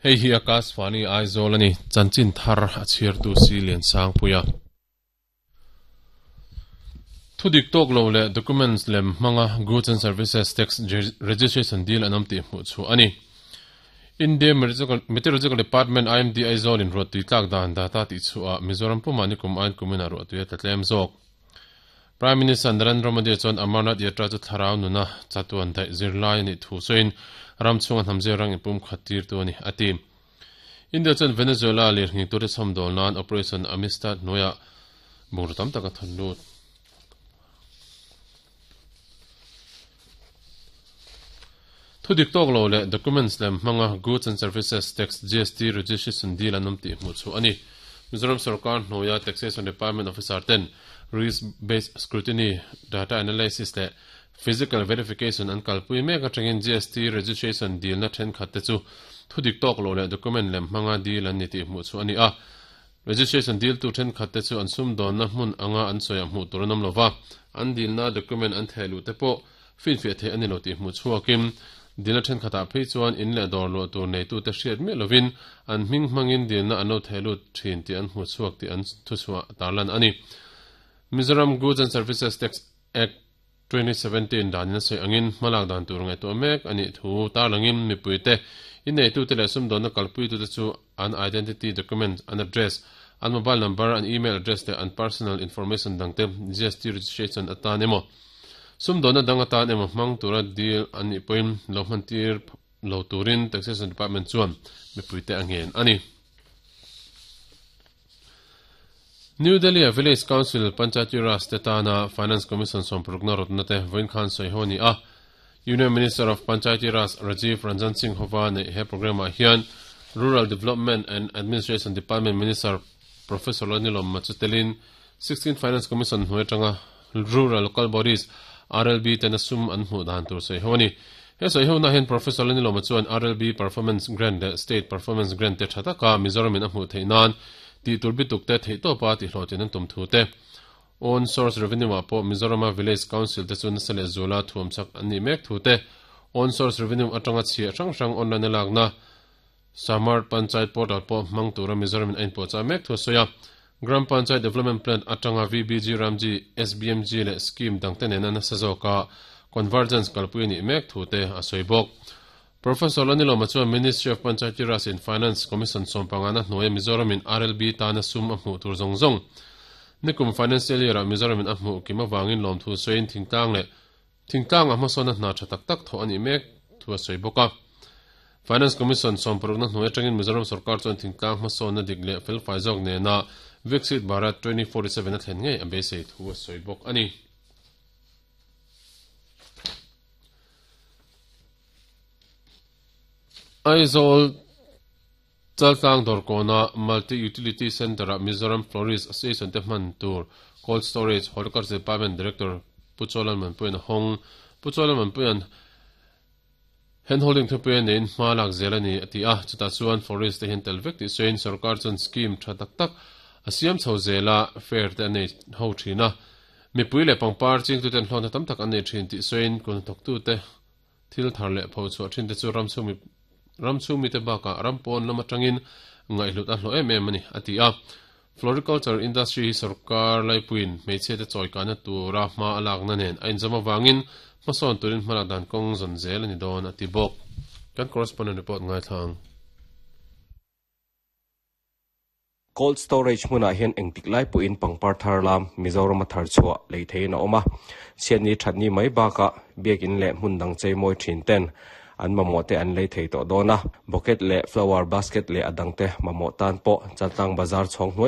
Hei hi Akashvani Aizawl a ni, chanchin thar a chhiartu si Liansangpuia. Thudik tawk lo leh documents lem hmanga Goods and Services Tax Registration deal an awm tih hmuh chhuah a ni. India Meteorological Department, IMD, Aizawl in ruahtui tlak dan data tih chhuah ah Mizoram pumah nikum aiin kumin ah ruahtui a tla tlem zawk. Prime Minister Narendra Modi chuan Amarnath Yatra chu thlarau nuna chatuan daih zirlai a nih thu sawiin ram chhunga hnam zir rang inpumkhat tirtu a ni, a ti. India chuan Venezuela lirnghing tute chhawmdawl nan Operation Amistad hnuaiah bungraw tam tak a thawn lut. Thudik tawk lo leh documents lem hmanga Goods and Services Tax, GST, registration deal an awm tih hmuh chhuah a ni. Mizoram sorkar hnuaia Taxation Department officer ten Risk Based Scrutiny, Data Analysis leh Physical Verification an kalpui mek atangin GST registration dilna thenkhat te chu thudik tawk lo leh document lem hmanga deal an ni tih hmuh chhuah a ni a. Registration diltu thenkhat te chu an sumdawnna hmun anga an sawiah hmuh tur an awm lova, an dilna document an theh luh te pawh finfiah theih a ni lo tih hmuh chhuakin dilna thenkhatah phei chuan in leh dawr luah tur neitute hriat miah lovin an hming hmangin dilna an lo theh lut thin tih an hmuh chhuak tih an thuchhuah tarlan a ni. Mizoram Goods and Services Tax Act, 2017 danin a sawi angin hmalak dan tur ngaihtuah mek a nih thu tarlangin mipuite, inneitute leh sumdawnna kalpuitute chu an identity document, an address, an mobile number, an email address leh an personal information dangte GST registration atan emaw sumdawnna dang atan emaw hmang tura deal an nih pawhin lo hmantir lo turin Taxation Department chuan mipuite a ngen a ni. New Delhi-a Village Council Panchayati Raj te tana Finance Commission sawmparukna rawtna te vawiin khan sawi ho a ni a. Union Minister of Panchayati Raj Rajiv Ranjan Singh hova neih he programme-ah hian Rural Development and Administration Department Minister Professor Lalnilawm Machu telin 16 Finance Commission hnuai atanga Rural Local Bodies, RLB, tena sum an hmuh dan tur sawi ho a ni. He sawi hona hian Professor Lalnilawma chuan RLB Performance Grant leh State Performance Grant te tha taka Mizoramin a hmuh theih nan tih tur bituk te theihtawpa tihhlawhtlin an tum thu te, Own Source Revenue ah pawh Mizorama Village Council te chu nasa leh zuala thuam chak an nih mek thu te, Own Source Revenue atanga chhiah hrang hrang online a lakna Samart Panchayat Portal pawh hmang tura Mizoramin a inpuahchah mek thu a sawi a. Gram Panchayat Development Plan atanga VBG Ramji, SBMG leh scheme dangte nena nasa zawka convergence kalpui a nih mek thu te a sawi bawk. Professor Lanilawma chuan Ministry of Panchayati Raj and Finance Commission sawmpangana hnuaia Mizoramin RLB tana sum a hmuh tur zawng zawng nikum financial year-ah Mizoramin a hmuh kim avangin lawmthu sawiin thingtlang leh Thingtlangah hmasawnna hna tha tak tak thawh a nih mek thu a sawi bawk a. Finance Commission sawmparukna hnuai atangin Mizoram sorkar chuan thingtlang hmasawnna dik leh felfai zawk nena Viksit Bharat 2047 a thlen ngei a beisei thu a sawi bawk a ni. Aizawl Chaltlang Dawrkawna Multi Utility Centre-ah Mizoram Florist Association te hman tur Cold Storage Horticulture Department Director Pu Chawlalmanpuia'n a hawng. Pu Chawlalmanpuia'n Handholding thupui a neiin hma lak zel a ni a ti a, chutah chuan florist te hian tel vek tih sawiin sorkar chuan scheme tha tak tak a siam chho zel a, fair te a nei ho thin a, mipui leh pangpar chingtuten hlawhna tam tak an nei thin tih sawiin kut hnathawktute Thil thar leh pho chhuah thin te chu ram chhung mi ram chhung mite bakah ram pawn lam atangin ngaihhlut a hlawh em em a ni, a ti a. Floriculture industry hi sorkar laipuiin hmeichhia te chawikahna tura hma a lakna nen a inzawm avangin hmasawn turin hmalak dan kawng zawn zel a ni dawn, a ti bawk. Kan correspondent report ngaithla ang. Cold storage hmunah hian engtik lai pawhin pangpar thar lam Mizorama thar chhuah lei theiin a awm a. Chhiatni thatni mai bakah biakin leh hmun dang chei mawi thin ten an mamawh te an lei thei tawh dawn a. Bucket leh flower basket leh a dangte mamawh tan pawh Chaltlang bazar chhawng hnuai.